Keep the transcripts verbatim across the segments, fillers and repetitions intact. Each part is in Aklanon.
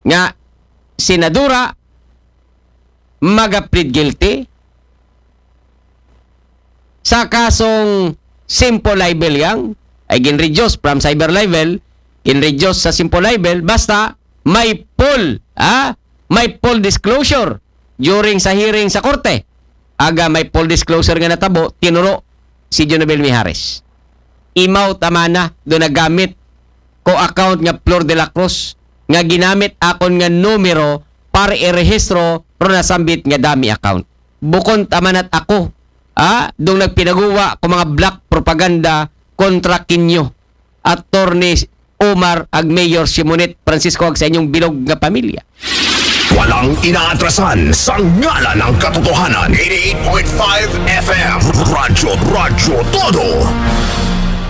nga senadora maga-plead guilty sa kasong simple libel yang ay gin-reduce from cyber libel, gin-reduce sa simple libel, basta may full, ah, may full disclosure during sa hearing sa korte. Aga may full disclosure nga natabo, tinuro si Jonabel Mijares. Imaw tamana do nagamit ko account nga Flor de la Cruz nga ginamit akon nga numero para irehistro ro nasambit nga dami account. Bukon tamanat ako, ah, dong nagpinaguwa ko mga black propaganda kontra kinyo. Attorney Omar ag Mayor Simonette Francisco ag sa inyong bilog nga pamilya. Walang inaatrasan sa ngalan ng katotohanan. eighty-eight point five F M. Radyo, Radyo Todo.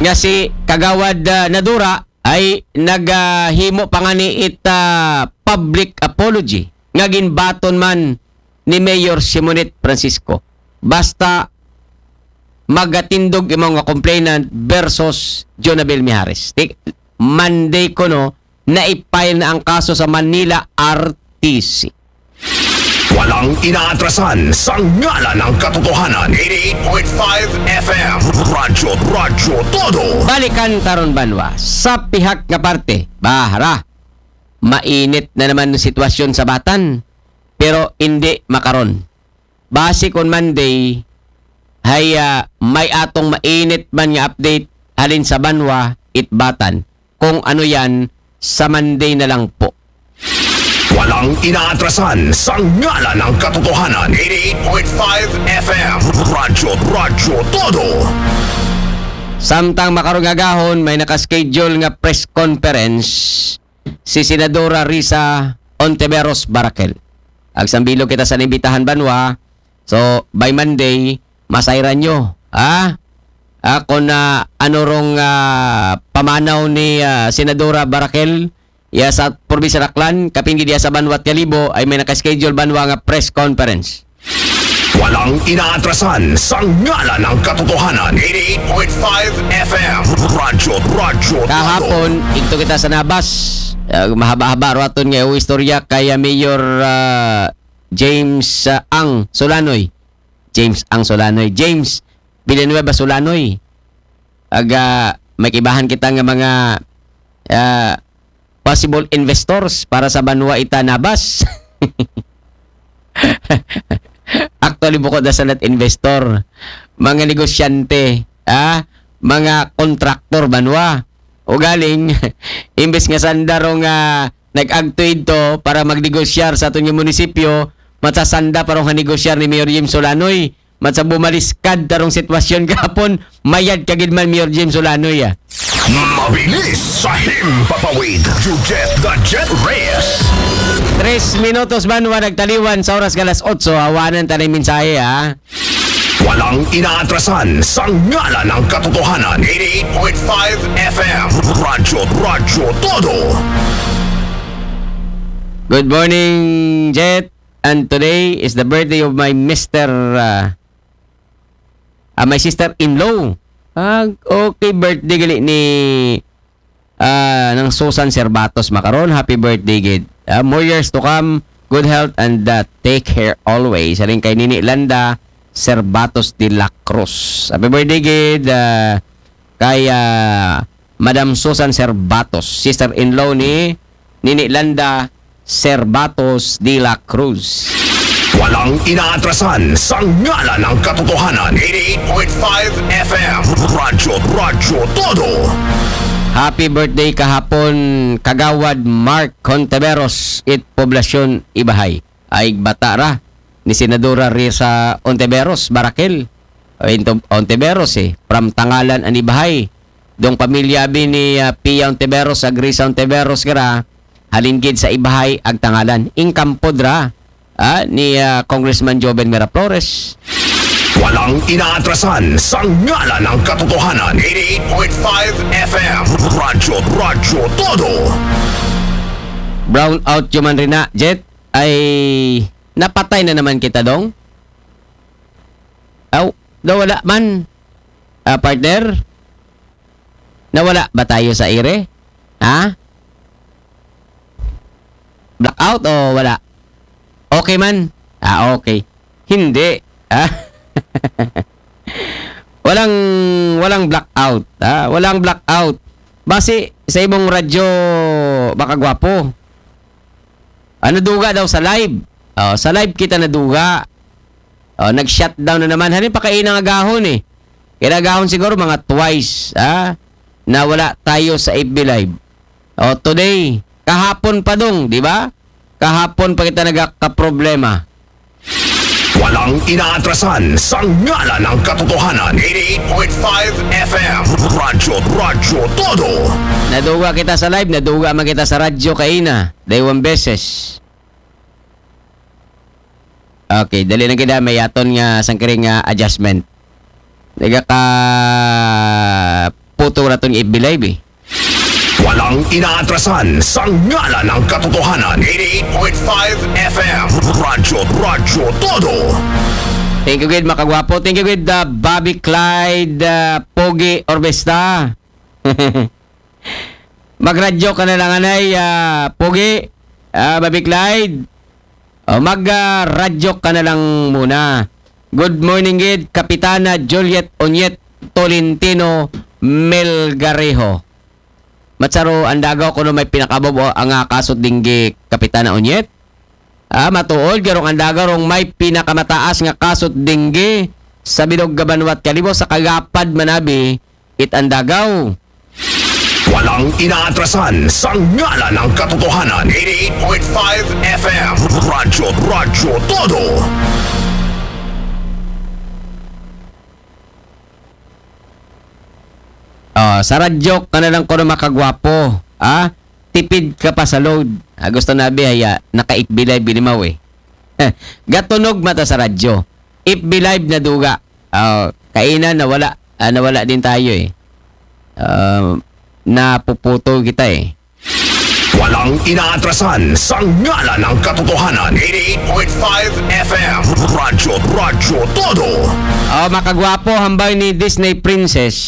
Nga si Kagawad ah, Nadura ay naghimo pa nga ni it ah, public apology nga ginbaton man ni Mayor Simonette Francisco. Basta magatindog imaw nga complainant versus Jonabel Mijares. Ti-, Monday kuno, na-file na ang kaso sa Manila R T C. Walang inaatrasan sa ngalan ng katotohanan. eighty-eight point five F M. Radyo, Radyo Todo. Balikan taron banwa sa pihak nga parte. Bahara, mainit na naman ang sitwasyon sa Batan. Pero hindi makaron. Base kon Monday, hay ah, may atong mainit man nga update halin sa banwa, it Batan. Kung ano yan, sa Monday na lang po. Walang inaatrasan sa ngalan ng katotohanan. eighty-eight point five F M. Radyo, Radyo Todo. Samtang makarong agahon, may nakaschedule nga press conference si Senadora Risa Ontiveros Baraquel. Agsang bilog kita sa nimbitahan banwa. So, by Monday, masayran nyo. Ha? Ako na ano rong ah, pamanaw ni ah, Senadora Baraquel, ya sa probinsya Aklan, kapin gid ya sa Banwa Kalibo, ay may naka-schedule banwa nga press conference. Walang inaatrasan sa ngalan ng katotohanan. eighty-eight point five F M. Radyo, Radyo Todo. Kahapon, igto kita sa Nabas. Ah, mahaba-haba raton nga istorya kay ah, Mayor ah, James ah, Ang Solanoy. James Ang Solanoy. James Villanueva Solanoy. Aga, may kibahan kita nga mga ah, possible investors para sa banwa ita Nabas. Actually, bukod na sa nat investor, mga negosyante, ah, mga kontraktor banwa. O galing, imbes nga sanda rong ah, nag-agto idto para magnegosyar sa aton nga munisipyo, matsasanda pa rong negosyar ni Mayor Jim Solanoy. Matsa bumaliskad tarong sitwasyon kahapon, mayad kagid man Mayor Jim Solanoy ah. Mabilis sa himpapawid. You get the jet race. Tres minutos banwa nagtaliwan sa oras nga alas otso. Awanan ta na yung mensahe, ha? Walang inaatrasan sa ngalan ng katotohanan. eighty-eight point five F M. Radyo, Radyo Todo. Good morning, Jet. And today is the birthday of my mister, uh, uh, my sister-in-law. Ah, okay, birthday gali ni ah, ng Susan Servatos makaron. Happy birthday, gid. Ah, more years to come. Good health and uh, take care always. Halin kay Nini Landa Servatos de la Cruz. Happy birthday, gid. Ah, kay ah, Madam Susan Servatos, sister-in-law ni Nini Landa Servatos de la Cruz. Walang inaatrasan sa ngalan ng katotohanan. eighty-eight point five F M. Radyo, Radyo Todo. Happy birthday kahapon, Kagawad Mark Honteveros, it Poblacion Ibahay. Ay bata ra ni Senadora Risa Ontiveros Baraquel. O, into-, Ontiveros eh, from Tangalan, Anibahay. Dong pamilya bi ni ah, Pia Ontiveros, ag Risa Ontiveros gara, halin gid sa Ibahay ag Tangalan. Ingkampod ra ah, ni ah, Congressman Joven Miraflores. Walang inaatrasan sa ngalan ng katotohanan. eighty-eight point five F M. Radyo, Radyo Todo. Brown out human rin na, Jet, ay napatay na naman kita, dong? Aw, nawala man. Ah, partner? Nawala ba tayo sa ire? Ha? Blackout o wala? Okay man? Ah, okay. Hindi. Ah? Walang, walang blackout. Ah? Walang blackout. Basi sa imong radyo, makagwapo. Ah, naduga daw sa live. Oh, sa live kita naduga. Oh, nag-shutdown na naman. Halimbawa, kainang agahon eh. Kinagahon siguro mga twice, ah, na wala tayo sa F B Live. Oh, today, kahapon pa dong, di ba? Kahapon pa kita nagkakaproblema. Walang inaatrasan sa ngalan ng katotohanan. eighty-eight point five F M. Radyo, Radyo Todo. Naduga kita sa live, naduga man kita sa radyo kaina. Daywang beses. Okay, dali lang kita. May aton nga sangkiring nga adjustment. Nagaka puto na itong F B Live eh. Walang inaatrasan sa ngalan ng katotohanan. eighty-eight point five F M. Radyo, Radyo Todo. Thank you, good, makagwapo. Thank you, good, uh, Bobby Clyde, uh, Pogi Orbesta. Magradyo ka na lang, anay, ah, Pogi, ah, Bobby Clyde. O, magradyo ka na lang muna. Good morning, gid, Kapitana Juliet Onyet Tolentino Melgarejo. Matsaro, andagaw ko no may pinakababo ang, ah, kasot dinggi, Kapitana Onyet. Ah, matuod, garong andagaw rong may pinakamataas nga kasot dinggi sa bilog ga banwat kalibo sa kagapad manabi, it andagaw. Walang inaatrasan sa ngalan ng katotohanan. eighty-eight point five F M. Radyo, Radyo Todo. Oh, sa radyo ka na lang ko na makagwapo. Ah, tipid ka pa sa load. Ah, gusto na bi, haya, naka-F B Live binimaw eh. Gatunog mata sa radyo. F B Live na duga. Oh, kaina nawala. Ah, nawala din tayo eh. Ah, napuputo kita eh. Walang inaatrasan sa ngalan ng katotohanan. eighty-eight point five F M. Radyo, Radyo Todo. Oh, makagwapo, hambal ni Disney Princess.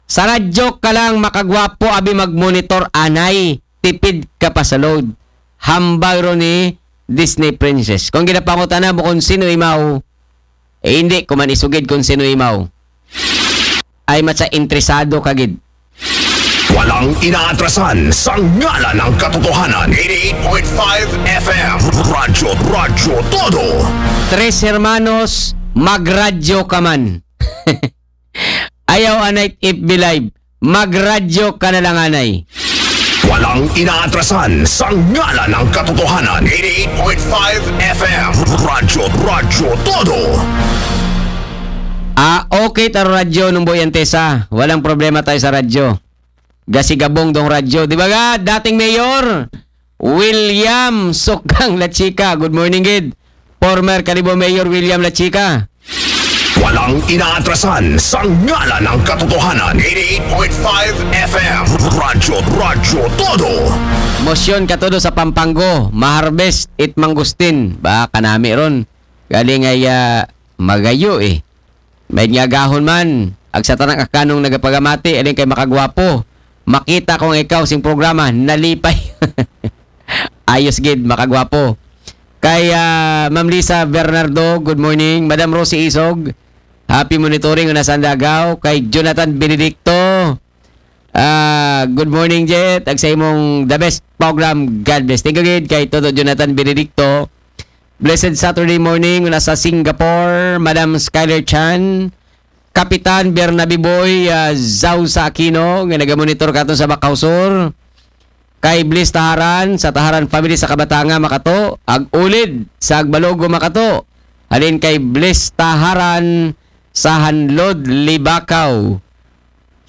Sa radyo ka lang makagwapo, abi magmonitor, anay. Tipid ka pa sa load. Hambal ro ni Disney Princess. Kung ginapangutana mo kung sino imaw, eh, hindi ko man isugid kung sino imaw. Ay, matsa interesado ka gid. Walang inaatrasan sa ngalan ng katotohanan. eighty-eight point five F M. Radyo, Radyo Todo. Tres Hermanos, magradyo ka man. Ayaw anay F B Live. Magradyo ka na lang anay. Walang inaatrasan sa ngalan ng katotohanan. eighty-eight point five F M. Radyo, Radyo Todo. Ah, okay, taro radyo nung Boy Antesa. Walang problema tayo sa radyo. Gasigabong dong radyo. Di ba ga, dating mayor, William Sukang Lachika. Good morning, gid. Former Kalibo Mayor William Lachika. Walang inaatrasan sa ngalan ng katotohanan. eighty-eight point five F M. Radyo, Radyo Todo. Motion ka todo sa Pampanggo. Maharbest it mangustin. Ba, kanami ron. Galing ay, ah, magayo eh. May nga gahon man. Ag sa tanang akanong nagapagamati, alin kay makagwapo. Makita ko nga ikaw sing programa, nalipay. Ayos gid, makagwapo. Kay, ah, Ma'am Lisa Bernardo, good morning. Madam Rosie Isog, happy monitoring, una sa Andagaw. Kay Jonathan Benedicto, ah, good morning, Jet. Ag sa imong the best program, God bless. Thank you, gid, kay Toto Jonathan Benedicto. Blessed Saturday morning, una sa Singapore, Madam Skyler Chan, Kapitan Bernabe Boy, ah, Zausa Aquino, nga nagamonitor kato sa Bacau Sur. Kay Bliss Taharan, sa Taharan family sa Kabatanga, makato. Ag-Ulid, sa Agbalogo, makato. Halin kay Bliss Taharan, sa Hanlod, Libacao.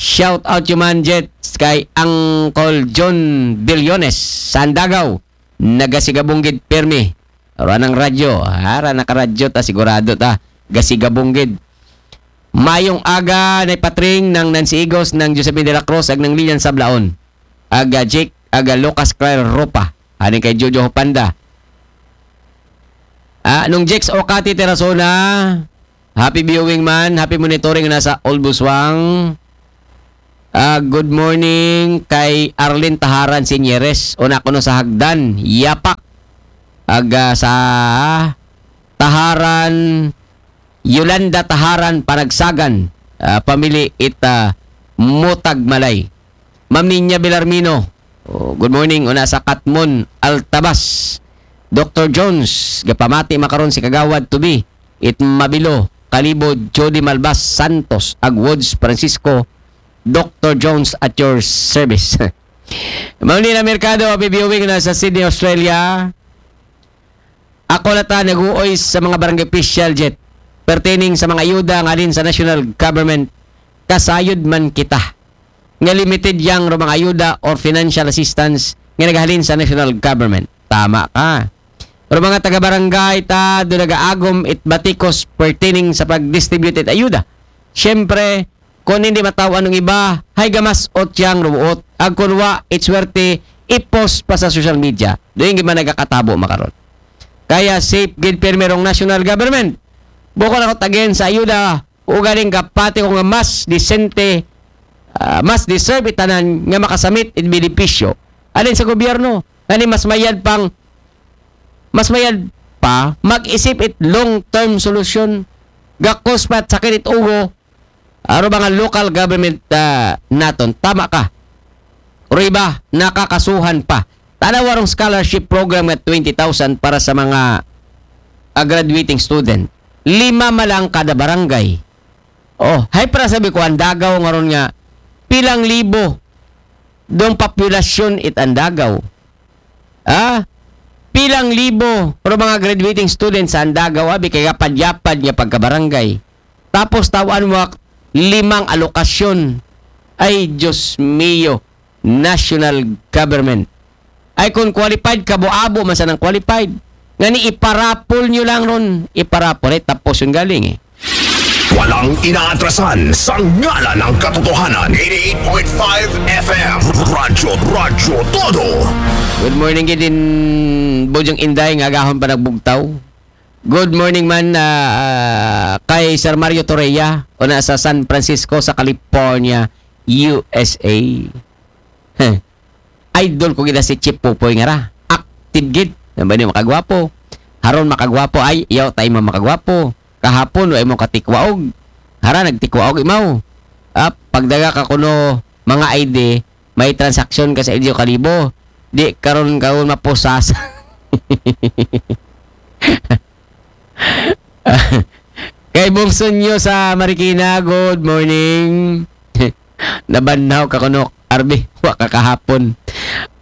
Shout out human, Jets, kay Uncle John Billones, sa Andagaw. Nagasigabong gid pirmi. Ora ng radyo. Ara nakaradyo ta, sigurado ta. Gasigabong gid. Mayong aga, Nay Patring, ng Nancy Igos, ng Josephine de la Cruz, ag ng Lilian Sablaon. Aga Jake, aga Lucas Claire Ropa. Ani kay Jojo Hopanda. Ah, nung Jex Okati Terasona, happy viewing man, happy monitoring na sa Olbuswang. Ah, good morning kay Arlene Taharan Sinyeres. Una ko no sa Hagdan, Yapak. Aga sa Taharan, Yolanda Taharan Panagsagan. Ah, pamili ita Mutag Malay. Maminya Belarmino. Oh, good morning. Una sa Katmon, Altabas. Doctor Jones, gapamati makaron si Kagawad Tubi. It Mabilo, Kalibod, Jody Malbas Santos, Agwoods Francisco, Doctor Jones at your service. Mauli na merkado, happy viewing na sa Sydney, Australia. Ako na ta naguoy sa mga barangay official jet pertaining sa mga ayuda nga halin sa national government. Kasayod man kita nga limited yang ro mga ayuda or financial assistance nga naghalin sa national government. Tama ka. Pero mga taga-barangay ta do nagaagom it batikos pertaining sa pag-distribute it ayuda. Siyempre, kung hindi mataw anong iba, hay gamas o tiyang ruot. Ag kunwa, it swerte, i-post pa sa social media. Doon yung man nagkakatabo makaron. Kaya safe gid permerong national government. Bukod ako tagen sa ayuda, ugaling kapati ko nga mas disente, ah, mas deserve itanan nga makasamit it benepisyo. Alin sa gobyerno, ngani mas mayad pang, mas mayad pa, mag-isip it long-term solution, gakos pa at sakit it ugo, aro mga local government ah, naton. Tama ka. Riba, nakakasuhan pa. Tanaw warong scholarship program nga twenty thousand para sa mga ah, graduating student. Lima malang kada barangay. Oh, hay para sabi ko, ang Dagaw ngaron nga, pilang libo dong populasyon it ang Dagaw. Ah, pilang libo pero mga graduating students sa ang Dagaw, abi kay yapad-yapad nga pagkabarangay. Tapos tawan mo ak-, limang alokasyon. Ay, Diyos mio, national government. Ay, kung qualified, kabuabo man sanang qualified. Ngani, iparapol nyo lang ron. Iparapol, eh, tapos yung galing eh. Walang inaatrasan sa ngalan ng katotohanan. eighty-eight point five F M. Radyo, Radyo Todo. Good morning, gid din Bojong Inday, nga agahon pa nagbugtaw. Good morning man ah, ah, kay Sir Mario Torreya, una sa San Francisco sa California, U S A. Heh. Idol ko gid si Chief Pupoy nga ra. Active gid. Nabay ni makagwapo. Haron makagwapo ay, yaw tayo mo makagwapo. Kahapon, wa mo katikwaog. Hara, nagtikwaog imaw. Ah, pagdaga ka kuno mga I D, may transaksyon ka sa L G U Kalibo. Di karon karon mapusas. Kay Bungso nyo sa Marikina, good morning. Nabanhaw ka kuno, Arby, wa ka kahapon.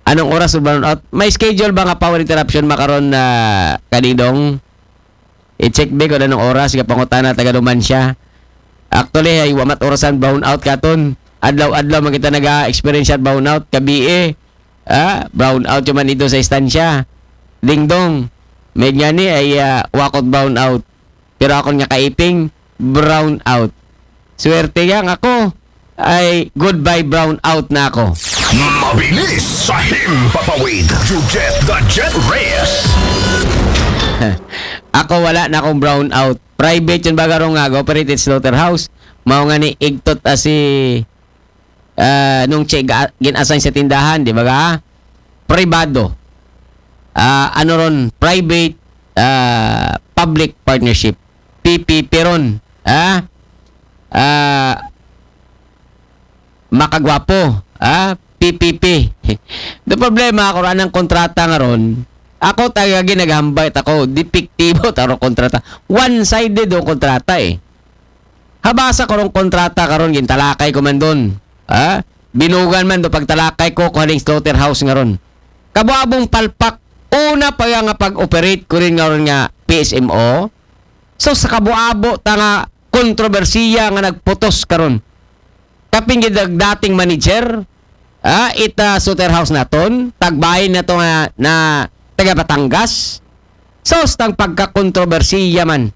Anong oras mo brown out? May schedule ba nga power interruption makaron na kanidong? I-check ba kung anong oras nga pangutana taga duman siya? Actually, ay wa mat orasan brown out katon. Adlaw-adlaw man kita naga-experience brown out, kabi eh. Ah, brown out yung man dito sa istansya. Dingdong, may nga ni ay ah, wakot brown out. Pero akon nga kaiping, brown out. Swerte yang ako ay goodbye brown out na ako. Mabilis sa himpapawid. You get the jet race. Ako wala na akong brown out. Private yun baga rong nga operated slaughterhouse. Mao nga ni igtot as si ah, nung siya ga- gin-assign sa tindahan, di ba ga? Pribado. Ah, ano ron, private ah, public partnership. P P P ron. Ah? Ah, makagwapo. Ah? P P P. The problema ako anang kontrata nga ron. Ako taga ginaghambay ako, depektibo taro kontrata. One-sided ang kontrata eh. Habasa ko rong kontrata karon gintalakay ko man doon. Ha? Binugan man do pagtalakay ko kuhaning slaughterhouse nga ron. Kabuabong palpak, una pa nga pag-operate ko rin nga ron nga P S M O. So sa kabuabo ta nga kontrobersiya nga nagputos karon. Kaping gid dating manager, ah, ita slaughterhouse naton, tagbayin na to nga na taga Batangas. Sos tang pagkakontrobersiya man.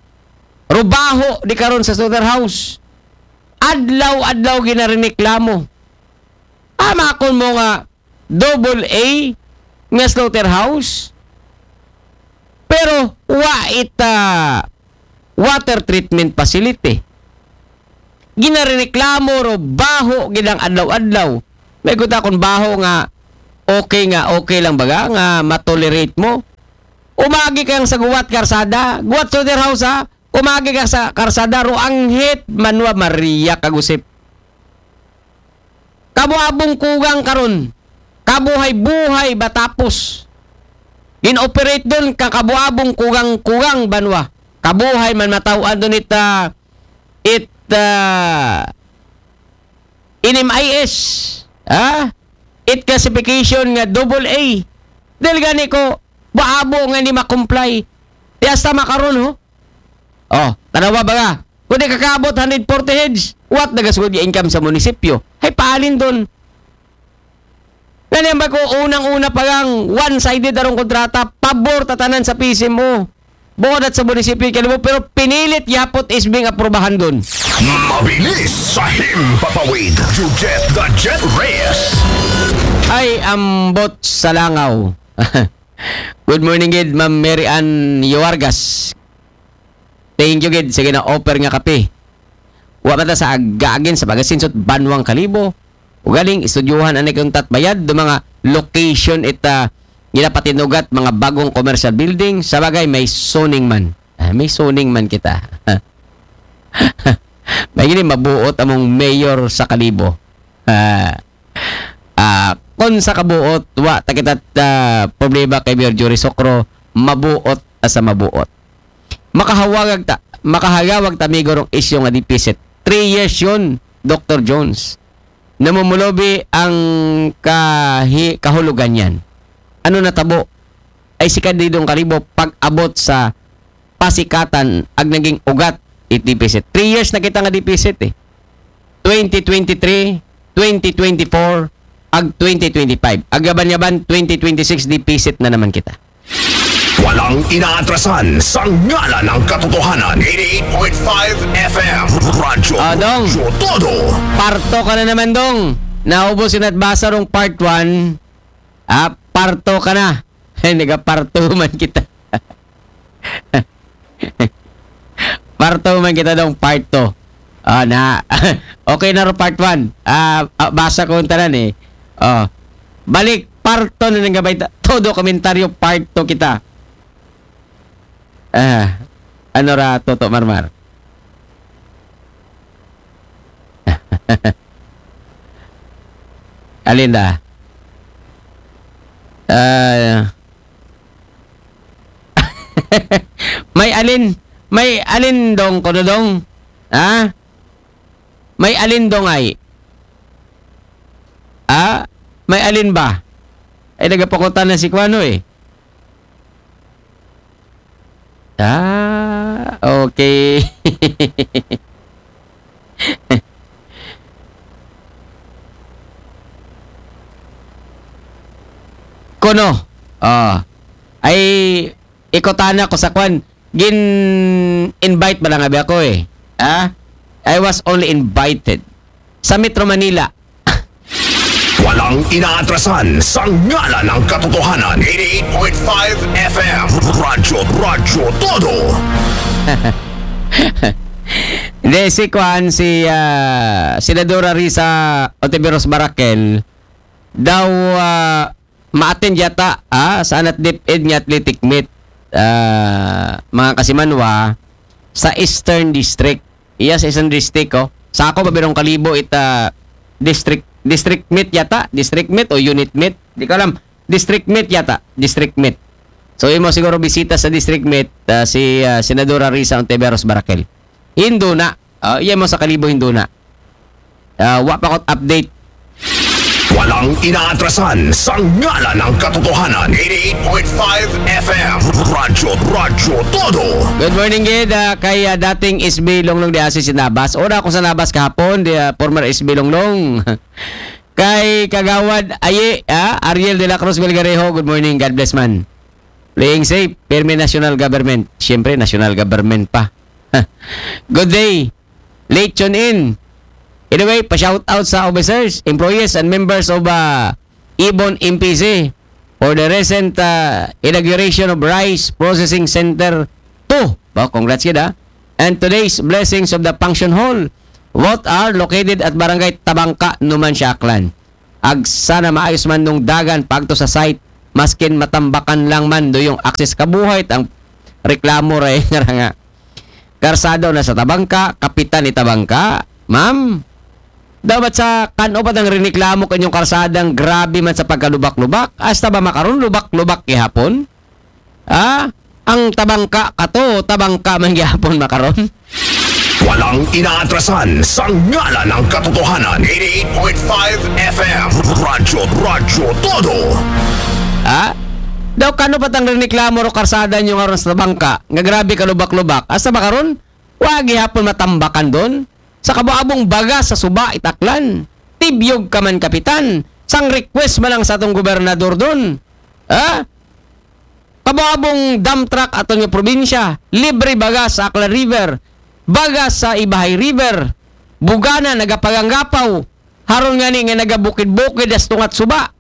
Rubaho di karon sa slaughterhouse. Adlaw-adlaw ginarineklamo. Ama kon mo nga double A nga slaughterhouse. Pero wa ita water treatment facility. Ginarireklamo ro baho gid ang adlaw-adlaw. May kuta kung baho nga okay nga okay lang baga nga matolerate mo. Umagi kang sa guwat karsada, guwat sa their house ha. Umagi ka sa karsada ro anghit manwa Maria kagusip. Kabuabong kugang karon. Kabuhay-buhay batapos. Gin-operate doon ka kabuabong kugang-kugang banwa. Kabuhay man mataw-an doon it, ah, it, ah, in M I S. Ha? It classification nga double A. Dahil gani ko, baabo nga ni makomply. Di hasta makaron, ho? Oh, tanawa ba nga? Kung di kakabot hundred forty heads, what nagasugod yung income sa munisipyo? Hay paalin doon. Ganyan ba ko unang-una pa lang one-sided arong kontrata, pabor tatanan sa P C M O. Bukod at sa munisipyo kalibo, pero pinilit yapot isbing aprubahan doon. Mabilis sa himpapawid. Jujet the Jet Reyes. Ay, ambot sa langaw. Good morning, gid, Ma'am Mary Ann Yoargas. Thank you, gid. Sige na, offer nga kape. Wa man ta sa agagin sa pagasinsot banwang kalibo. Ugaling, istudyuhan ani kung tatbayad do mga location ita ginapatinugat mga bagong commercial building. Sa bagay, may zoning man. Ah, may zoning man kita. May gini mabuot among mayor sa kalibo. Ah, ah, kung sa kabuot, wa ta kita ah, problema kay Mayor Jory Socro, mabuot ah, sa mabuot. Makahawag ta, makahagawag ta migo rong isyu nga deficit. Three years yun, Doctor Jones. Namumulobi ang kahi, kahulugan yan. Ano natabo? Ay si Candidong Kalibo pag-abot sa pasikatan ag naging ugat it deficit. Three years na kita nga deficit eh. twenty twenty-three, twenty twenty-four, ag twenty twenty-five. Ag yaban-yaban, twenty twenty-six deficit na naman kita. Walang inaatrasan sa ngalan ng katotohanan. Eighty-eight point five F M. Radyo, Ah, Dong. Radyo Todo. Parto ka na naman, Dong. Naubos yung natbasa rong part one. Ah, parto ka na. Ay, nagaparto man kita. Parto man kita, Dong, part two. Ah, na. Okay na ro part one. Ah, ah, basa ko yung tanan eh. Oh. Balik, part two na nang gabay. Ta- Todo komentaryo, part two kita. Ah, ano ra, Toto Marmar? Alin na? Ah, may alin? May alin, Dong, ko, Dong? Ha? May alin, Dong, ay? Ah? May alin ba? Ay, nagapakutan na si Kuano eh. Ah, okay. Kuno, ah, ay, ikutana ko sa kwan. Gin-invite ba lang abi ako eh? Ha? I was only invited. Sa Metro Manila. Walang inaatrasan sa ngalan ng katotohanan. Eighty-eight point five F M. Radyo, Radyo Todo. Hindi, si Kwan, si ah, Senadora Risa Ontiveros Barakel, daw ah, ma-attend yata ah, sa Anat DepEd nga athletic meet, ah, mga kasimanwa, sa Eastern District. Iya sa Eastern District, oh. Sa ako, babirong kalibo ita district, district meet yata, district meet o unit meet. Di ko alam. District meet yata, district meet. So, imo siguro bisita sa district meet, ah, si ah, Senadora Risa Ontiveros Barakel. Hindo na. Ah, iya mo sa kalibo, hindo na. Ah, wa pa ko't update. Walang inaatrasan sa ngalan ng katotohanan. Eighty-eight point five F M. Radyo, Radyo Todo. Good morning, gid. Ah, kay ah, dating S B Longlong di asi si Nabas. Ora ako sa Nabas kahapon, di ah, former S B Longlong. Kay Kagawad Aye, ah, Ariel de la Cruz Belgarejo. Good morning, God bless man. Playing safe, pirmi national government. Siyempre, national government pa. Good day. Late tune in. Anyway, pa-shout out sa officers, employees, and members of uh, Ibon M P C for the recent uh, inauguration of Rice Processing Center two. Ba, congrats, gid, ah. And today's blessings of the function hall Both are located at Barangay Tabangka, Numancia, Aklan. Ag sana maayos man nung dagan pagto sa site, maskin matambakan lang man do yung access kabuhay, ang reklamo ray nga nga. Karsado na sa Tabangka, kapitan ni Tabangka, ma'am. Dapat sa kano pa tang riniklamo kanyong karsadang grabe man sa pagkalubak-lubak, hasta ba makaron lubak-lubak gihapon? Ah, ang Tabangka kato, Tabangka man gihapon makaron? Walang inaatrasan sa ngalan ng katotohanan. eighty-eight point five F M. Radyo, Radyo Todo. Ha? Daw kano pa tang riniklamo ro karsada nyo nga ron sa Tabangka, nga grabe kalubak-lubak. Hasta ba karon? Wa gihapon matambakan don. Sa kabuabong baga sa suba itaklan. Tibyog ka man kapitan. Sang request man lang sa atong gobernador don. Ha? Kabuabong dump truck aton nga probinsya. Libre baga sa Aklan River. Baga sa Ibahay River. Bugana nagapaganggapaw. Haron nga ni nga nagabukid-bukid as tungat suba.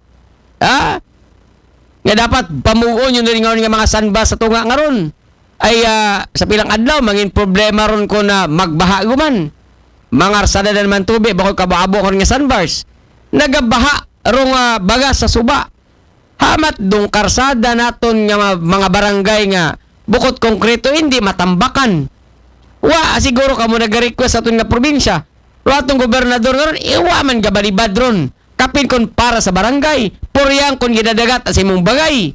Ha? Nga dapat pamugon yung nalingaw nga mga sanba sa tunga nga ron. Ay ah, sa pilang adlaw, mangin problema ron ko na magbaha guman. Mangarsada na naman tubi, bakod kabuabo ko nga sandbars. Nagabaha rong ah, baga sa suba. Hamat dong karsada naton nga ma- mga barangay nga bukod konkreto, hindi matambakan. Wa, siguro kamo nag-request sa aton nga probinsya. Pero atong gobernador nga ron, iwa man gabalibad ron. Kapin kon para sa barangay, puryang kon gidadagat as imong bagay.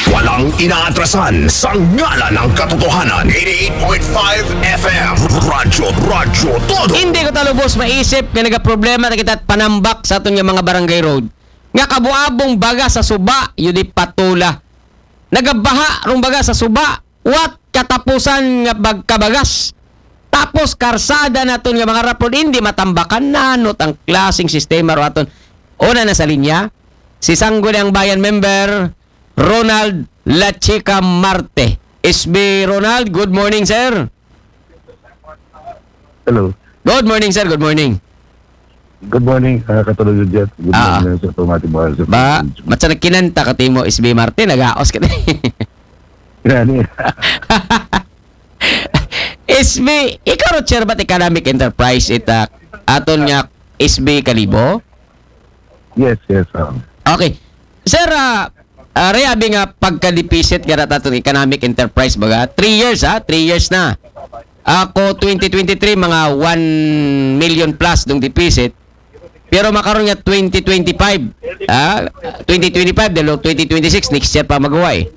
Walang inaatrasan sa ngalan ng katotohanan. eighty-eight point five F M. Radyo, Radyo Todo. Hindi ko talubos maisip nga nagaproblema na kita panambak sa aton nga mga barangay road. Nga kabuabong baga sa suba, yun di patula. Nagabaha rong baga sa suba, what katapusan nga bagkabagas. Tapos karsada naton nga mga rapod, hindi matambakan nanot ang klaseng sistema ro aton. Una na sa linya, si Sangguniang Bayan member, Ronald Lachica Marte. S B Ronald, good morning, sir. Hello. Good morning, sir. Good morning. Good morning, uh, Katulog Jet. Good Ah. Morning sa itong ating mga Ba, matsa nagkinanta ka timo, S B Marte, nagaos ka. Yan, eh. S B, ikaw ro chair ba't economic enterprise ita aton nga S B Kalibo? Yes, yes. Um, Okay. Sir, ah, ah, Ray, abi nga pagka-deficit nga natatong economic enterprise baga, three years ha, three years na. Ako twenty twenty-three, mga one million plus dong deficit. Pero makaron nga twenty twenty-five, ah, twenty twenty-five, dalo twenty twenty-six, next year pa magawa eh.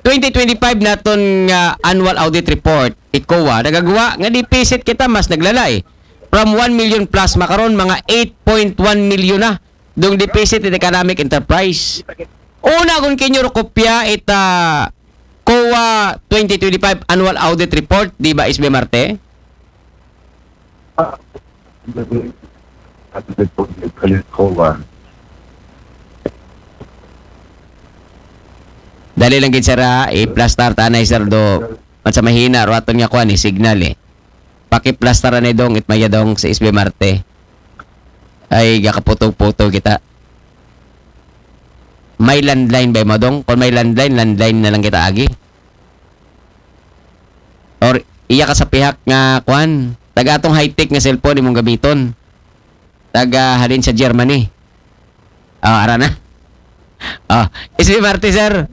twenty twenty-five naton nga annual audit report, i COA, nagagawa nga deficit kita mas naglala eh. From one million plus, makaron mga eight point one million na dong deficit in economic enterprise. Una, kung kinyo ro kopya ita COA twenty twenty-five annual audit report, di ba, S B Marte? Kalit ko ba? Dali lang gid, sir, ha? I-plastar ta anay, sir, do. Matsa mahina ro aton nga kuan, eh, signal, eh. Paki-plastar anay dong, it maya dong sa S B Marte. Ay, gakaputog-putog kita. May landline ba mo dong? Kung may landline, landline na lang kita agi. Or iya ka sa pihak nga kuan, taga atong high-tech nga cellphone imong gamiton. Taga halin sa Germany. Oh, ara na. Oh, S B Marte, sir.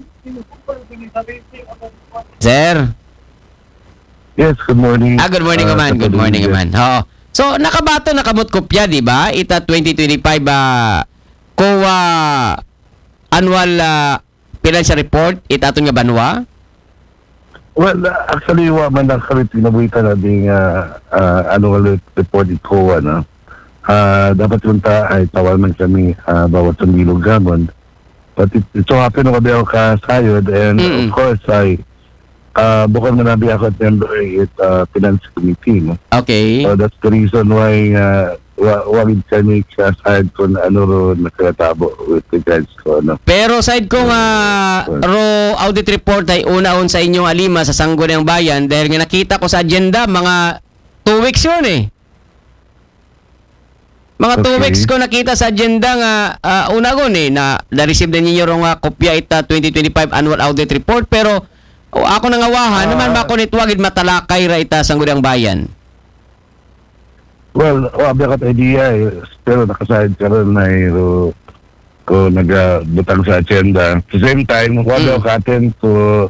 Sir. Yes, good morning. Ah, good morning, Uh, man. Good Katulog morning, Jet. Man. Oo. So, nakabato na kamot kopya, di ba? Ita twenty twenty-five ah, COA annual ah, financial report, ita aton nga banwa. Well, uh, actually, wa man lang kami pinabuhitan na ding uh, uh, annual re- report i COA, no? Uh, dapat yung ta ay tawal man kami uh, bawat sandilog gamon. But it, it so happen na kabi ako kasayod and Mm. of course, I uh, bukod man nabi ako at member it uh, finance committee, no? Okay. So that's the reason why uh, wa wagid kami kasayod kung ano ro nakatabo with regards ko, no? Pero side ko nga ro audit report ay unaon sa inyong alima sa Sangguniang Bayan dahil nga nakita ko sa agenda mga two weeks yun eh. Mga two Okay. weeks ko nakita sa agenda nga uh, unagon eh na na-receive na ninyo ro nga kopya ita twenty twenty-five annual audit report pero oh, ako nangawahan Ah. naman ba ko nitwagid matalakay ra ita Sangguniang Bayan. Well, wa biya' ka idea eh. Pero naka-sidecar na eh. So, ko nagabutang sa agenda. At the same time, wa biya' ka attend ko